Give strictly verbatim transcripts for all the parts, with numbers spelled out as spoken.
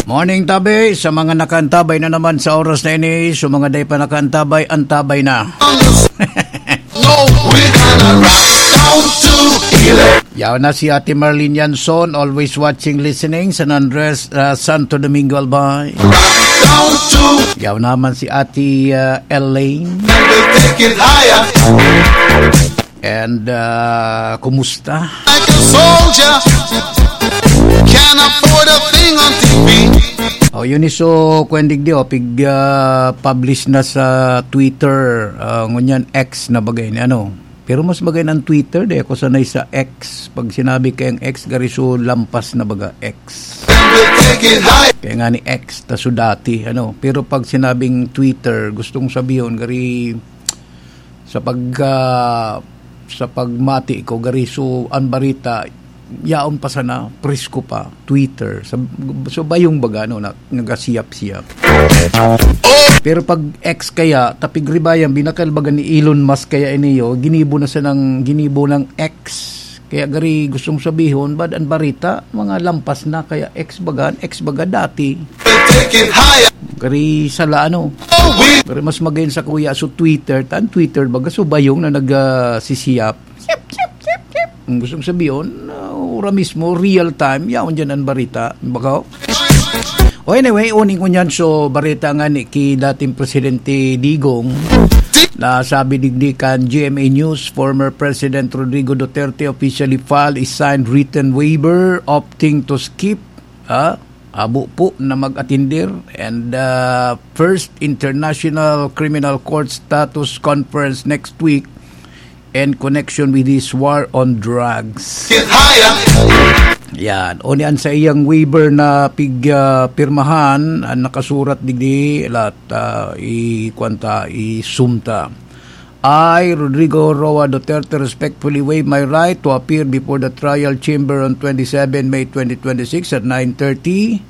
Morning, tabi. Sa mga nakaantabay na naman sa oras na ini, sa mga day pa nakaantabay, antabay na. No, we're gonna rock down to Iloilo. Yaw na si Ate Marlene Yanson, always watching, listening, San Andres, ah, Santo Domingo, Albay. Down to Yaw naman si Ate, ah, Elaine. And we'll take it higher. And, ah, kumusta? Like a soldier, can't afford a thing on T V. Oh, yun iso, Kuya Digdi, oh, pig, ah, publish na sa Twitter, ah, ngunyan X na bagay ni ano. Pero mas bagay ng Twitter, di ako sanay sa X. Pag sinabi kayang X, gari so lampas na baga, X. And we'll take it high. Kaya nga ni X, ta so dati, ano. Pero pag sinabing Twitter, gustong sabihin, gari sa pag, ah, sa pagmati ko, gari so, ang barita, yaon pa sana, presko pa, Twitter. Sa, so, bayong baga, no, na, nagasiyap-siyap. Pero pag X kaya, tapig ribayan, binakal baga ni Elon Musk kaya iniyo, ginibo na sanang, ginibo ng X. Kaya gari gustong sabihon, bad ang barita, mga lampas na, kaya X baga, X baga dati. Take it higher. Gari sala, ano. Oh, we Gari mas magayon sa kuya, so Twitter, tan Twitter baga, so bayong na nag, ah, sisiyap. Siyap, siyap, siyap, siyap. Ang gustong sabihon, ah, ora mismo, real time, yaon dyan ang barita. Baka, o anyway, uning ko niyan, so barita nga ni ki dating Presidente Digong, na sabi digdi kan G M A News, former President Rodrigo Duterte officially filed a signed written waiver opting to skip, ah, abo po na mag-atindir and, ah, first International Criminal Court status conference next week in connection with his war on drugs. Get higher. Yan. O ni an sa iyang waiver na pig, ah, pirmahan, ang nakasurat digdi, lat, ah, i, kwanta, isumta. I, Rodrigo Roa Duterte, respectfully waive my right to appear before the trial chamber on twenty-seven May twenty twenty-six at nine thirty,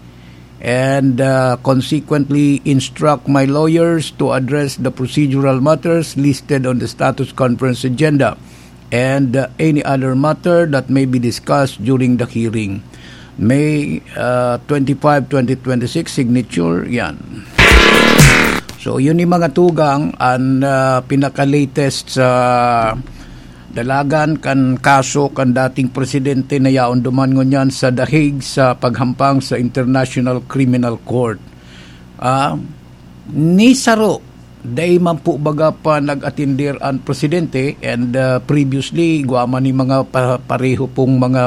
and, uh, consequently instruct my lawyers to address the procedural matters listed on the status conference agenda and, uh, any other matter that may be discussed during the hearing. May, uh, twenty-five, twenty twenty-six, signature, yan. So, yun yung mga tugang, ang, uh, pinaka-latest sa dalagan kan kaso kan dating presidente na yaon duman ngunyan sa The Hague sa paghampang sa International Criminal Court. Ah, ni saro, dai man po baga pa nag-atindir ang presidente, and, ah, previously, igwa man ni mga pa-, pareho pong mga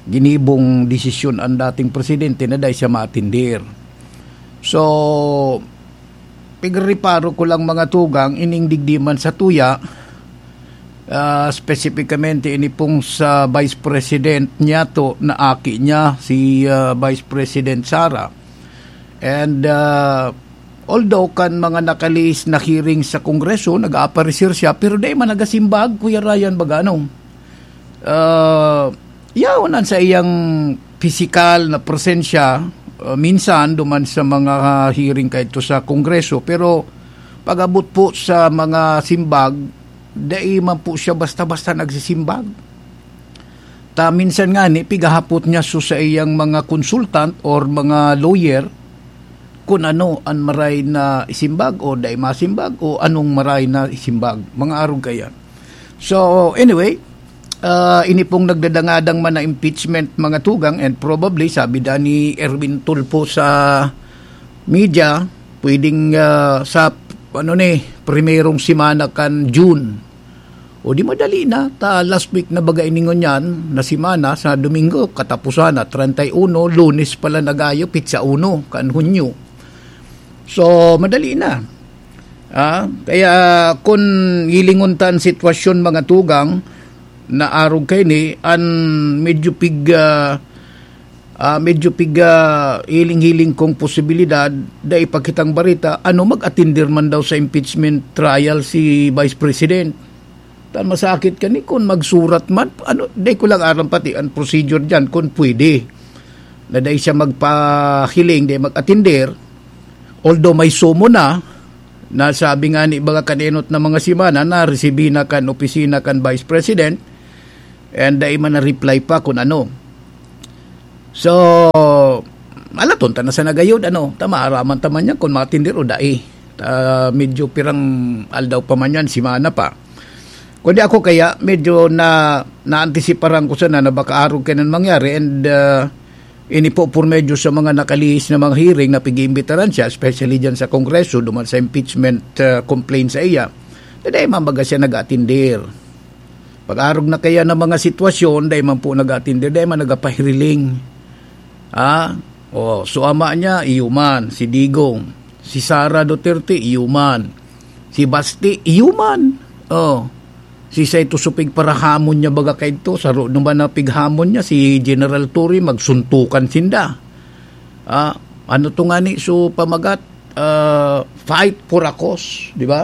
ginibong desisyon ang dating presidente na dai siya maatindir. So, pigreparo ko lang, mga tugang, ining digdi man sa tuya, ah, spesipikamente ini pong sa Vice President niya to, na aki niya, si, ah, Vice President Sara. And, ah, although kan mga nakalihis na hearing sa Kongreso, nag-aaparecer siya, pero dai man nagasimbag, Kuya Ryan, baga ano. Ah, yaon an sa iyang pisikal na presensya, ah, minsan duman sa mga hearing kaidto sa Kongreso, pero pag-abot po sa mga simbag, dai man po siya basta-basta nagsisimbag. Ta minsan ngani, pigahapot niya so sa iyang mga consultant or mga lawyer kun ano an maray na isimbag o dai masimbag o anong maray na isimbag. Mga arog kaya. So, anyway, ah, ini pong nagdadangadang man na impeachment, mga tugang, and probably, sabi da ni Erwin Tulfo sa media, pwedeng, ah, sa, ano ni, primerong semana kan June. O di madali na, ta last week na baga ini ngunyan na semana, sa Domingo, katapusan na, treinta y uno, Lunes pala nagayo, petsa uno, kan Hunyo. So, madali na. Ah, kaya kun hilingon ta an sitwasyon, mga tugang, na arog kaini, an medyo pig, ah, ah, medyo pig, ah, hiling-hiling kong posibilidad, dai pa kitang barita, ano, mag-atindir man daw sa impeachment trial si Vice President. Tan masakit kani kun magsurat man, ano, dai ko lang aram pati an procedure diyan kun pwede na dai siya magpahiling, dai mag-atindir. Although may summon na, nasabi nga ni baga kan enot na mga semana, naresibi na kan opisina kan Vice President, and dai man na-reply pa kun ano. So, Alaton ta na sa nagayod, ano, ta maaraman ta man yan kung matindir o dai. Ta, medyo pirang aldaw pa man yan, simana pa. Kundi ako kaya, medyo na, naantisiparan ko sana na baka arog kaiyan mangyari and, ah, ini po por medyo sa mga nakalihis na mga hearing na pag-iimbitaran siya, especially dyan sa Kongreso, duman sa impeachment, ah, complaint sa iya. Dai man baga siya nag-atindir. Pag-arog na kaya ng mga sitwasyon, dai man po nag-atindir, dai man nagapahiriling. Ah, oh, so ama niya, iyo man, si Digong. Si Sara Duterte, iyo man. Si Basti, iyo man. Oh, si Saito Supig parahamon niya baga kaidto, saro naman na pighamon niya, si General Torre, magsuntukan sinda. Ah, ano to nga ni, so pamagat, ah, fight for a cause, di ba?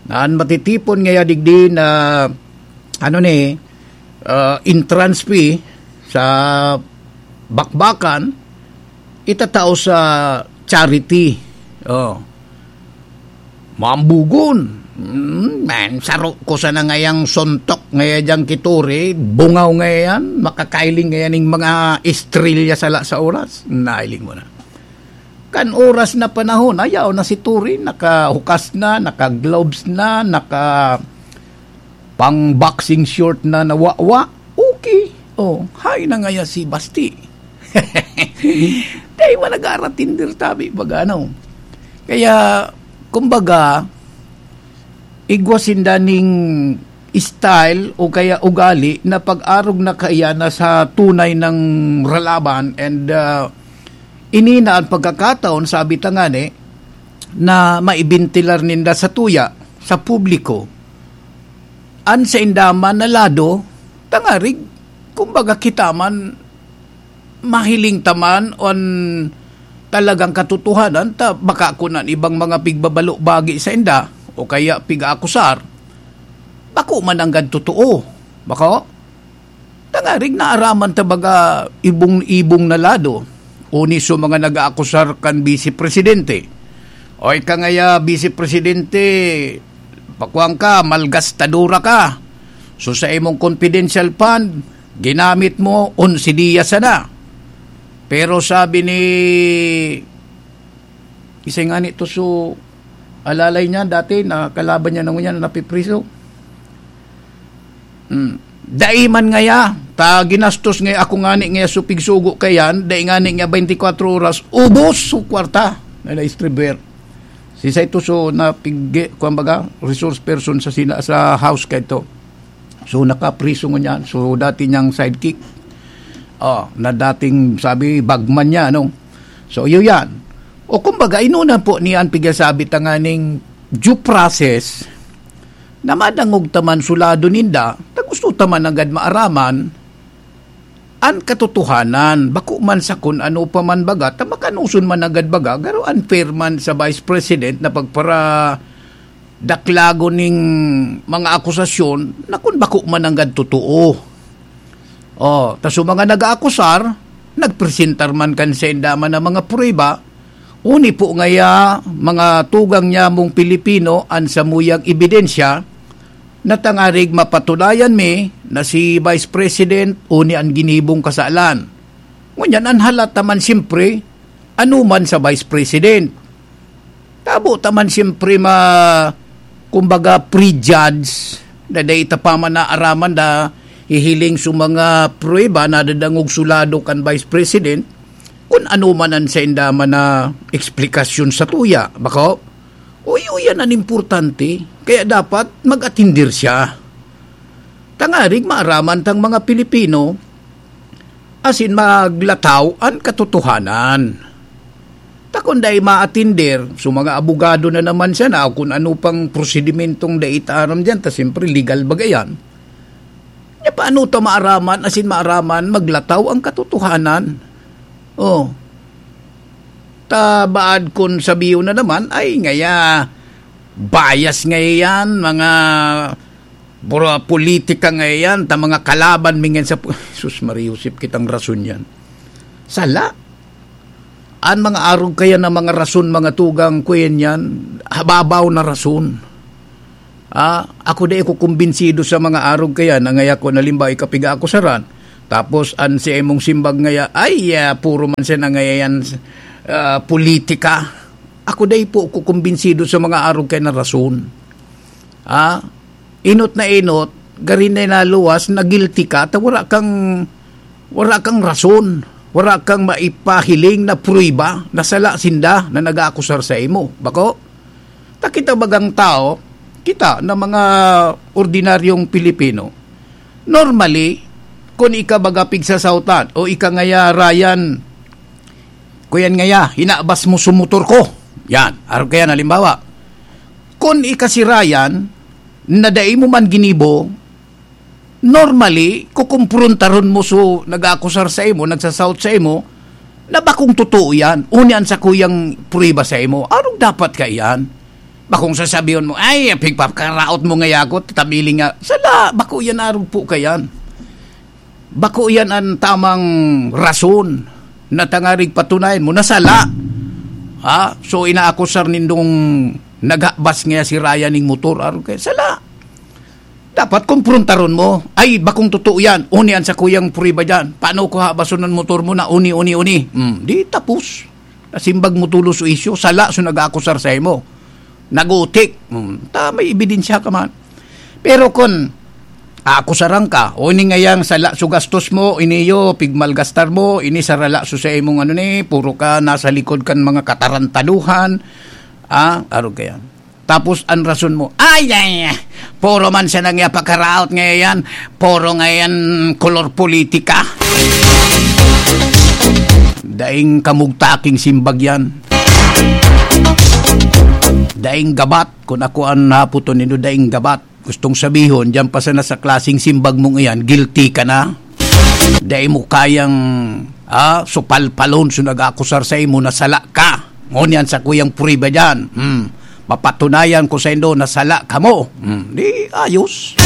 Na an matitipon ngaya digdi na, ano ni, ah, entrance fee sa bakbakan, itatao sa charity. Oh. Mambugon. Mm, man, saro ko sana ngayang suntok ngaya diyang kituri, bungaw ngayan, makakailing ngayan ning mga estrelya sala sa oras. Nailing mo na. Kan oras na panahon, ayaw na si Turi, nakahukas na, naka-gloves na, naka pang boxing short na nawawa. Okay. Oh, hay na ngaya si Basti. Dai man nag-aaratindir tabi, baga, ano. Kaya, kumbaga, igwa sinda ning style o kaya ugali na pag-arog na kaya na sa tunay ng ralaban and, ah, ini na ang pagkakataon, sabi ta ngani, na maibintilar ninda sa tuya, sa publiko, an sainda man na lado, tangarig, kumbaga kita man, mahiling ta man an talagang katotohanan ta baka kun an ibang mga pigbabalo bagi sainda o kaya pig-aakusar, bako man nanggad totoo. Bako? Tangarig naaraman ta baga ibong-ibong na lado, o ni so mga nag-aakusar kan Bise Presidente. Oy, ka ngaya, Bise Presidente, pakuan ka, malgastadora ka. So, sa imong confidential fund, ginamit mo, onse diya sana. Pero sabi ni, isa nga nito, so, alalay niya, dati, na kalaban niya na ngunyan, napipriso. Hmm. Dai man ngaya, ta ginastos ngaya ako ngani ngaya supig sugo kayan, dai ngani ngaya twenty-four oras, ubos so kwarta na na-distribute. Si Saito so na pig-, kuwan baga, resource person sa sina-, sa house kay to. So, nakapriso ngunyan. So, dati niyang sidekick. Oh, na dating, sabi, bagman niya, ano? So, iyo yan. O kumbaga, inuna po niya an pigsasabi tanganing due process na madangog ta man sulado ninda, ta gusto ta man agad maaraman an katotohanan. Bako man sa kun ano pa man baga, ta makanoson man agad baga, garo unfair man sa Vice President na pagpara daklagon ning mga akusasyon na kun bako man nanggad totoo. Oh, ta so mga nag-aakusar, nagpresentar man kan sainda man na mga prueba, uni po ngaya mga tugang nyamong Pilipino an samuyang ebidensya na tangarig mapatunayan mi na si Vice President uni an ginibong kasalan. Ngunyan, an halata man siyempre, ano man sa Vice President. Tabo ta man siyempre ma-, kumbaga, prejudge na dai ta pa man naaraman na hihiling sa mga pruweba na dadangog sulado kan Vice President, kun ano man an sainda man na eksplikasyon sa tuya, bako? Uy, uyan an importante, kaya dapat mag-atindir siya. Tangarig maaraman tang mga Pilipino, asin maglataw an katotohanan. Ta kun dai maatinder, so mga abogado na naman siya na kun ano pang prosedimentong dai ta aram diyan, ta siyempre legal baga yan. Nya paano ta maaraman, asin maaraman, maglataw ang katotohanan? Oh. Ta baad kun sabiyon na naman, ay, ngaya, bias ngaya yan, mga bura-, politika ngaya yan, ta mga kalaban mi ngan sa pu-, Sus Maria Josep, kitang rason yan. Sala. An mga arog kaya na mga rason, mga tugang, kuyan yan, hababaw na rason. Ah, ako di ako kumbinsido sa mga arog kaya na ngaya ko, halimbawa, ikapiga-akusaran. Tapos an si imong simbag ngaya, ay, ah, puro man siya na ngaya yan, ah, politika. Ako dai po ko kumbinsido sa mga arog kay na rason. Ah, inot na inot, gari na naluwas, na guilty ka, ta wala kang, wala kang rason, wala kang maipahiling na pruweba na sala sinda na nag-aakusar sa imo. Bako? Ta kita bagang tao, kita na mga ordinaryong Pilipino, normally, kun ika baga pigsasautan o ika ngaya, Ryan, kuyan ngaya, hinabas mo sa motor ko. Yan, arog kaya, halimbawa, kun ika si Ryan, na dai mo man ginibo, normally, kukumprontaron mo so nag-aakusar sa imo, nagsasaut sa imo, na bakong totoo yan. Uni an sakuyang pruweba sa imo. Arog dapat ka yan. Bakong sasabihon mo, "Ay, pigpapakaraot mo ngaya ako, tabiling nga." Sala, bako yan, arog po ka yan. Bako yan an tamang rason na tangarig patunayan mo na sala. Ha? So, inaakusar nindong naghabas ngaya si Ryan ning motor, arog kaya, sala. Dapat kumprontaron mo. Ay, bakong totoo yan. Uni an sakuyang pruweba dyan. Paano ko habason an motor mo na uni, uni, uni? Hmm, di tapos. Nasimbag mo tulos o isyu, sala so nag-aakusar sa imo. Nagutik. Hmm, ta, may ebidensya ka man. Pero kun aakusaran ka, uni ngayang sala so gastos mo, ini yo, pigmalgastar mo, ini sarala so sa imong ano ni, puro ka nasa likod kan mga katarantaduhan. Ah, arog kaya. Tapos an rason mo, ay, ay, ay, puro man siya nang ipakaraot ngayon, puro ngayon kolor politika. Daing kamugtaking simbag yan. Daing gabat, kung ako an naputon nindo, daing gabat. Gustong sabihon, diyan pa sana sa klaseng simbag mong iyan, guilty ka na. Dai mo kayang, ah, supalpalon so nag-akusar sa imo na sala ka. Ngunyan sa kuyang pruweba diyan. Hmm. Mapatunayan ko sa indo na sala kamo. Hmm. Di ayos.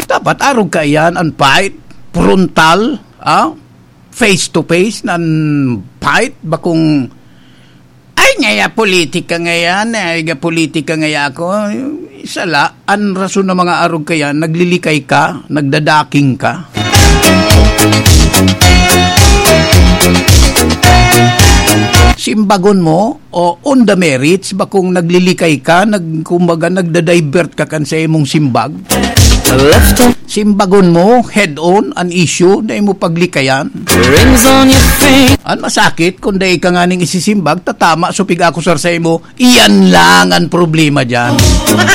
Dapat arog ka iyan, an fight, frontal, ah, face to face, nan fight, bakong, "Ay, ngaya politika ngayan, ay, ga politika ngaya ako." Sala, an rason ng mga arog kaya, naglilikay ka, nagdadaking ka. Simbagon mo, o on the merits, bakong naglilikay ka, nag-, kumbaga, nagda-divert ka kan sa imong simbag. Simbagon mo, head-on, an issue na imo paglikayan. Rings on your finger. An masakit, kung dai ka nganing isisimbag, tatama so pig-akusar sa imo, iyan lang an problema diyan.